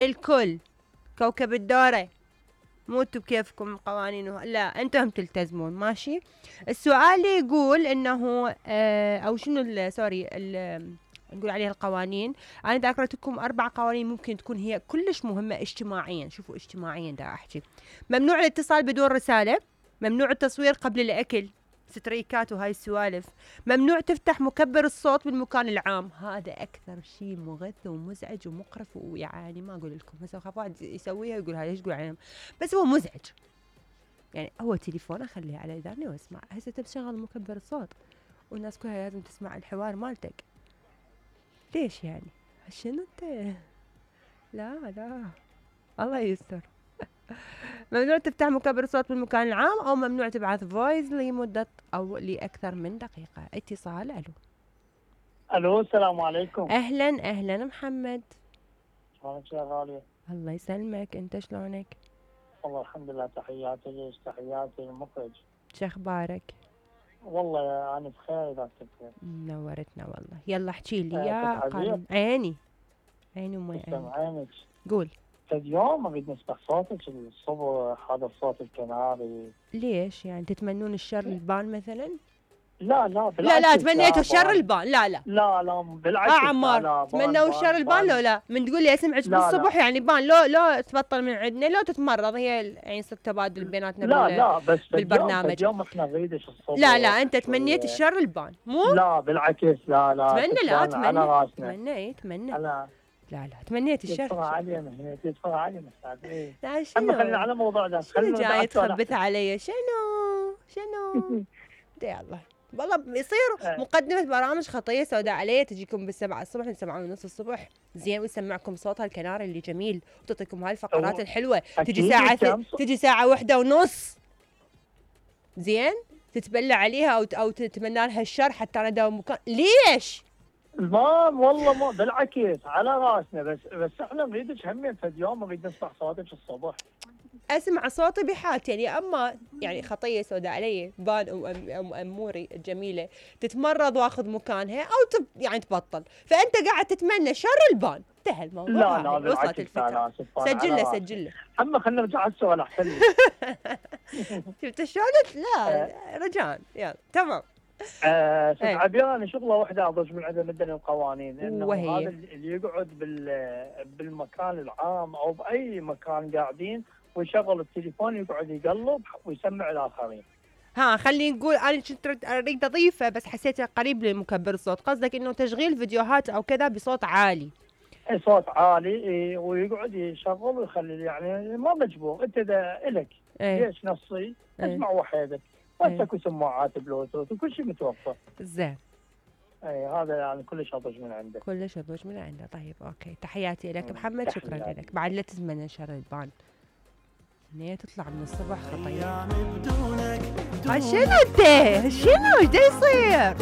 الكل كوكب الدورة، مو انتو بكيفكم قوانين لا انتم تلتزمون ماشي. السؤال يقول انه او شنو سوري نقول عليها القوانين. انا دا اقرأتكم 4 قوانين ممكن تكون هي كلش مهمة اجتماعيا. شوفوا اجتماعيا دا احكي. ممنوع الاتصال بدون رسالة، ممنوع التصوير قبل الاكل، ستريكات وهاي السوالف، ممنوع تفتح مكبر الصوت بالمكان العام. هذا اكثر شيء مغث ومزعج ومقرف، ويعني ما اقول لكم هسه خاف واحد يسويها يقول هاي ايش تقول عليهم، بس هو مزعج. يعني هو تليفون اخليه على اذاني واسمع. هسه تشغل مكبر الصوت والناس كلها لازم تسمع الحوار مالتك، ليش يعني؟ شنو انت؟ لا الله يستر. ممنوع تفتح مكبر الصوت بالمكان العام، او ممنوع تبعث فويس لمدة او لاكثر من دقيقة. اتصال. الو السلام عليكم. اهلا محمد. شلونك يا غالية؟ الله يسلمك، انت شلونك؟ والله الحمد لله. تحياتي ليش؟ تحياتي المخرج. شخبارك؟ والله انا بخير اذا كنت بخير. نورتنا والله. يلا احكي لي يا قانون. عيني وما عينك. قول. اليوم اريد نسمع صوتك الصبح، هذا الصوت الكناري. ليش يعني تتمنون الشر البان مثلا؟ لا بالعكس. لا تمنيتوا الشر البان. لا بالعكس. عمار تمنوا الشر البان. لو من تقول لي اسمعك بالصبح يعني بان لو تبطل من عندنا، لو تتمرض. هي يعني يصير تبادل بيناتنا لا بس بالبرنامج. اليوم احنا نريدش الصبح. لا انت تمنيت الشر البان مو؟ لا بالعكس. لا تمنى لا تمنيت الشر. تدفع علي مساعدين. لا شنو؟ خلينا على موضوعنا. شنو جاي تخبث علي؟ شنو؟ يلا والله يصير مقدمة برامج خطية سوداء علي تجيكم بالسبعة الصبح من 7:30 الصبح زين، ويسمعكم صوتها الكناري اللي جميل، وتعطيكم هاي الفقرات الحلوة. تجي ساعة 1:30 زين، تتبلى عليها أو تتمنى لها الشر حتى أنا داوم مكان. ليش؟ والله ما بالعكس على راسنا، بس احنا نريدك همين في اليوم، نريد نسمع صوتك الصبح. اسمع صوتي بحالتي يعني. اما يعني خطيه سوداء علي بان اموري الجميله تتمرض واخذ مكانها او يعني تبطل، فانت قاعد تتمنى شر البان. انتهى الموضوع. لا وصلت الفكره. سجل له. اما خلينا نرجع على السؤال احسن. شفت شلون؟ لا رجاء يلا تمام. استاذ عبيان شغله واحده اضج من عدم مدن القوانين، انه هذا اللي يقعد بالمكان العام او باي مكان قاعدين ويشغل التليفون يقعد يقلب ويسمع الاخرين. خلينا نقول انا كنت اريد اضيفه بس حسيته قريب لمكبر الصوت. قصدك انه تشغيل فيديوهات او كذا بصوت عالي. صوت عالي ويقعد يشغل ويخلي، يعني ما مجبور انت الك. ليش نصي؟ اسمع وحدك واسكو سماعات بلوتوث وكل شيء متوفر. زين. هذا يعني كلش اضج من عنده. طيب اوكي، تحياتي لك محمد. شكرا لك. بعد لا تتمنى شر البان. هي تطلع من الصبح خطية. شنو انت؟ شنو ايش دا يصير؟